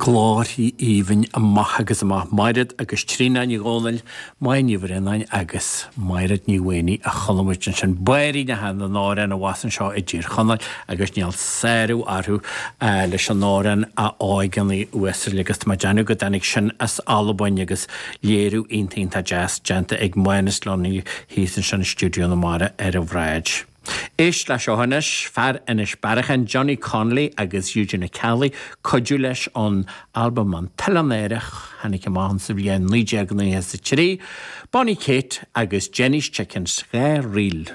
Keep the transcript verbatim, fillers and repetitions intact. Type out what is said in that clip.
Glórthaí aoibhinn amach agus amach Mairéad agus Tríona Ní Dhomhnaill, Máire Ní Bhraonáin agus Mairéad Ní Mhaonaigh a chuala muid ansin barraí na han amhrán abhus anseo i dTír Chonaill agus níl sárú orthu leis an amhrán a óigeanna uasail agus tá mé ag déanamh go dtáinig sin as Albain agus léiriú iontach deas déanta ag Mánas Lunny thíos ansin i Stiúideo na Mara ar an bhráid. Éist le seo anois fear Inis Bearachain Johnny Connolly agus Eugene Kelly cuidiú leis an albam an tOileán Aerach tháinig amach sa bhliain naoi déag nócha a trí, Bonnie Kate agus Jenny's Chickens dhá ríl.